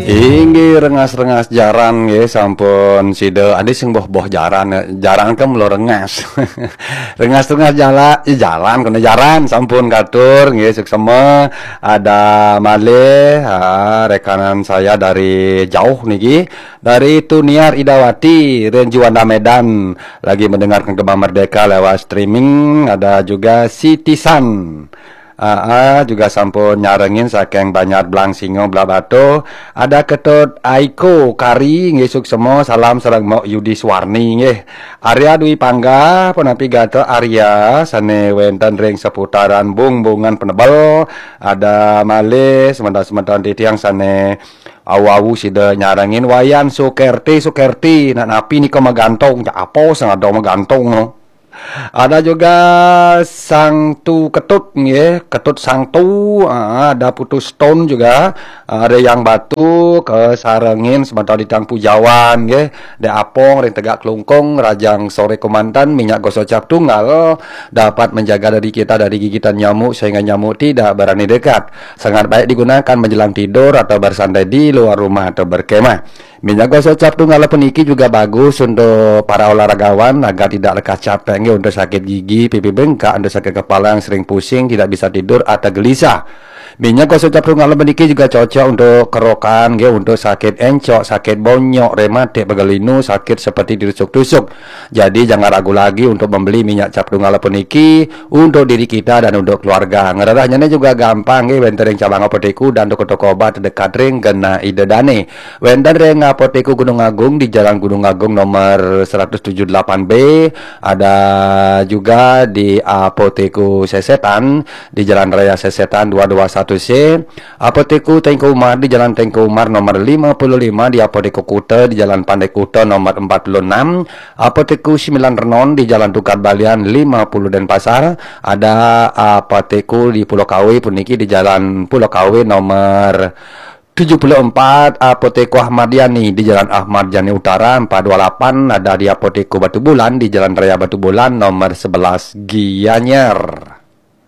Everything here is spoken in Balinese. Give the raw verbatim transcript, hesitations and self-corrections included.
Inggih, rengas-rengas jaran nggih, sampun sida adi sing boh-boh jaran, jaran kan mula rengas. Rengas-rengas jala, eh, jalan kena jaran sampun katur nggih, suksema. Ada malih, ah, rekanan saya dari jauh niki, dari Tuniar Idawati, Ren Juanda Medan, lagi mendengarkan Gema Merdeka lewat streaming. Ada juga si Tisan. Ah, ah, juga sampun nyarengin saking Banjar Blang Singo Blah Batuh. Ada Ketut Aiko Kari nggih, suksema, salam sareng Mok Yudi Suwarni nggih. Arya Dwi Pangga punapi gatra Arya sane wenten ring seputaran Bungbungan Penebel. Ada malih semeton-semeton titiang sane awu-awu sida nyarengin. Wayan Sukerti, Sukerti, nak napi nika magantung, jak apa sing ada magantung no. Ada juga Sang Tu Ketut nggih, Ketut Sang Tu, ah, ada Putu Stone juga, ah, ada Yang Batu, kesarengin semeton titiang Pujawan nggih, Dek Apong ring Tegak Klungkung, Rajang Sore Kemanten, minyak gosok cap tunggal dapat menjaga diri kita dari gigitan nyamuk sehingga nyamuk tidak berani dekat. Sangat baik digunakan menjelang tidur atau bersantai di luar rumah atau berkemah. Minyak gosok cap tunggal puniki juga bagus untuk para olahragawan agar tidak lekas capek nggih, untuk sakit gigi, pipi bengkak, untuk sakit kepala yang sering pusing, tidak bisa tidur atau gelisah. Minyak gosok cap tunggal puniki juga cocok untuk kerokan nggih, untuk sakit encok, sakit bonyok, rematik, pegal linu, sakit seperti ditusuk-tusuk. Jadi jangan ragu lagi untuk membeli minyak cap tunggal puniki untuk diri kita dan untuk keluarga. Ngrerehnyane juga gampang nggih, wenten ring cabang apotek dan toko-toko obat terdekat ring genah Ida Dane. Wenten ring Apotek Gunung Agung di Jalan Gunung Agung nomor seratus tujuh delapan B, ada juga di Apotek Sesetan di Jalan Raya Sesetan dua dua satu C, Apotek Teuku Umar di Jalan Teuku Umar nomor lima puluh lima, di Apotek Kuta di Jalan Pandai Kuta nomor empat puluh enam, Apotek Sembilan Renon di Jalan Tukad Balian lima puluh Denpasar, ada Apotek di Pulau Kawe puniki di Jalan Pulau Kawe nomor tujuh puluh empat, Apotek Ahmad Yani di Jalan Ahmad Yani Utara empat dua lapan, ada di Apotek Batu Bulan di Jalan Raya Batu Bulan nomor sebelas Gianyar.